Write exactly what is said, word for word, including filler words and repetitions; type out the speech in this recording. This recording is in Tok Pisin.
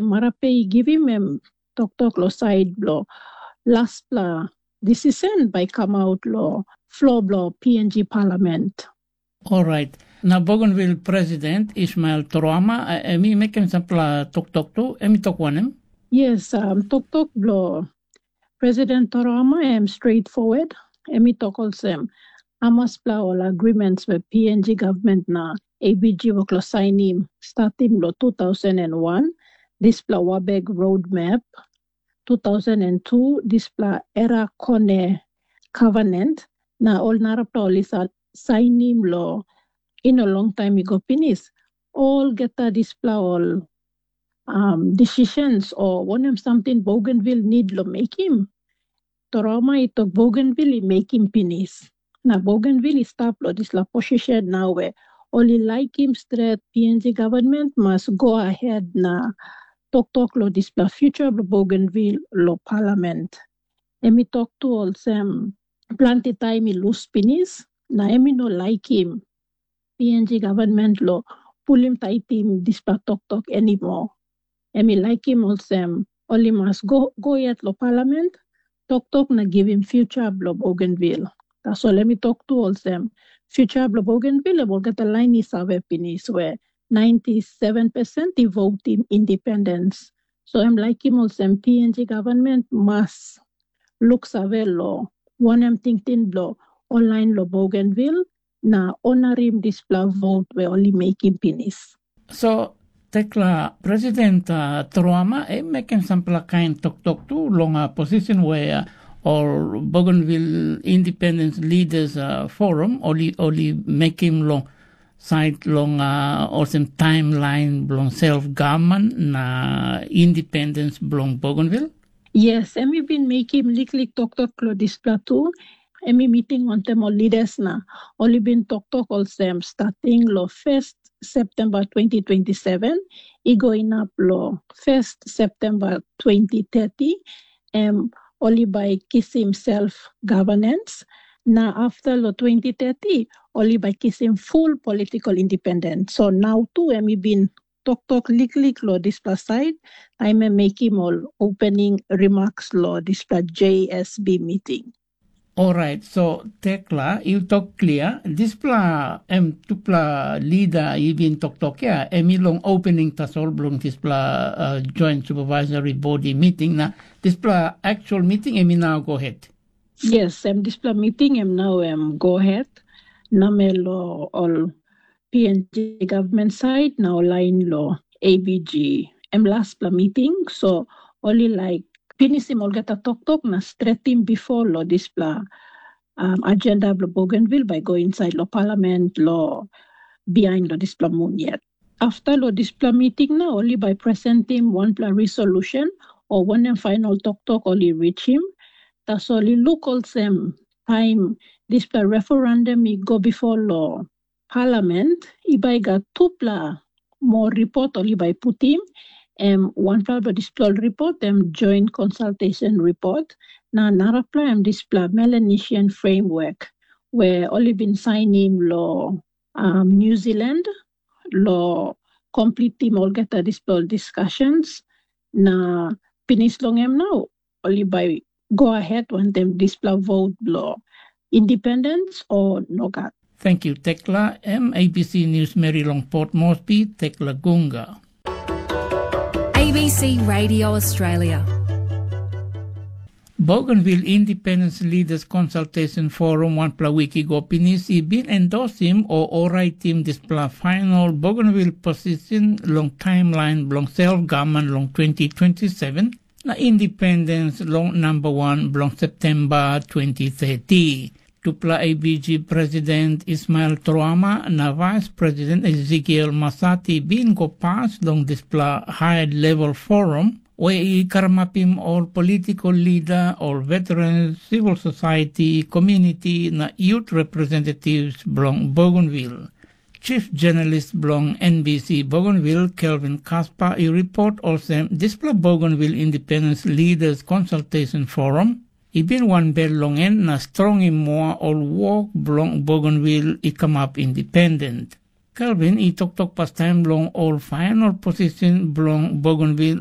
Marape i givim em toktok long sait bilong laspela decision bai i kamap long flo bilong P N G Parliament. Orait. Na Bougainville President Ismail Torama, em i mekim sampela toktok tu, em i tok wanem? Yes, um, toktok bilong President Torama em straightforward. Em i tok olsem, amaspela ol agreements we P N G government na A B G wok lo sainim starting lo two thousand and one, dispela Wabeg Roadmap, two thousand and two, dispela Era Kone Covenant, na ol narapela ol i sa-, sainim lo ino long taim i go pinis. Olgeta dispela ol um, decisions o wanem samting Bougainville need lo mekim, Torama i tok Bougainville i mekim pinis. Na Bougainville i stap lo dispela position nau we ol i laikim stret P N G government mas go ahead na toktok lo dispela future bilong Bougainville lo parliament. Em i tok tu olsem, planti taim i lus pinis, na em i no laikim P N G government lo pulim taitim dispela toktok anymore. Em i laikim olsem, ol i mas go, go yet lo parliament, toktok na givim future bilong Bougainville. Tasol em i tok tu olsem, future bilong Bougainville em olgeta lain i save pinis we ninety seven percent i votim independence. So em laikim olsem P N G government mas luksave lo wanem tingting bilong ol lain lo Bougainville na onarim dispela vot we ol i mekim pinis. So, tekla President uh, Truama, em mekim sampela kain toktok tu long uh, position where uh, ol Bougainville Independence Leaders uh, Forum, oli, oli mekim long sait long uh, olsem timeline bilong self government na independence bilong Bougainville. Yes, em i bin mekim liklik toktok lo dispela tu. Em i miting wantaim ol leaders na ol i bin toktok olsem, starting lo first September twenty twenty-seven, i go inap lo first September twenty thirty, em ol i bai kisim self governance, na after lo twenty thirty, ol i bai kisim full political independence. So nau tu em i bin toktok liklik lo dispela sait, taim em mekim ol opening remarks lo dispela J S B meeting. Orait, so tekla, yu tok klia, dispela em tupela lida i bin toktok ya, em i long opening tasol bilong dispela uh, joint supervisory body meeting, na dispela actual meeting em i nau go ahead. Yes, em dispela meeting em nau em go ahead, namel lo ol P N G government side na ol lain lo A B G. Em laspela meeting, so ol i laik pinisim olgeta toktok na stretim before lo dispela um, agenda bilong Bougainville bai go inside lo parliament lo behind lo dispela moon yet. After lo dispela meeting na ol i bai presentim wanpela resolution o wanem final toktok ol i reachim. Tasol i luk olsem taim dispela referendum i go before lo parliament, i bai gat tupela moa ripot ol i bai putim. Em wanpela bilong dispela ol ripot em joint consultation report, na narapela em dispela Melanesian framework we ol i bin sainim lo um, New Zealand lo komplitim olgeta dispela ol discussions, na pinis long em nau ol i bai go ahead wantaim dispela vot bilong independence o nogat. Thank you, Tekla. M A B C News Mary long Port Moresby, Tekla Gunga. A B C Radio Australia. Bougainville Independence Leaders Consultation Forum wanpela wik i go pinis i bin endosim o oraitim dispela final Bougainville position long timeline bilong self government long twenty twenty-seven na independence long number one bilong September twenty thirty. Tupela A B G President Ismail Troama na Vice President Ezekiel Masati bin go pas long dispela high level forum we i karamapim ol political leader, ol veteran, civil society, community na youth representatives bilong Bougainville. Chief Journalist bilong N B C Bougainville, Kelvin Kaspa, i report olsem dispela Bougainville Independence Leaders Consultation Forum i bin wanbel long en na strongim moa ol wok bilong Bougainville i kamap independent. Kelvin i toktok pastaim long ol fainal posisen bilong bougainvil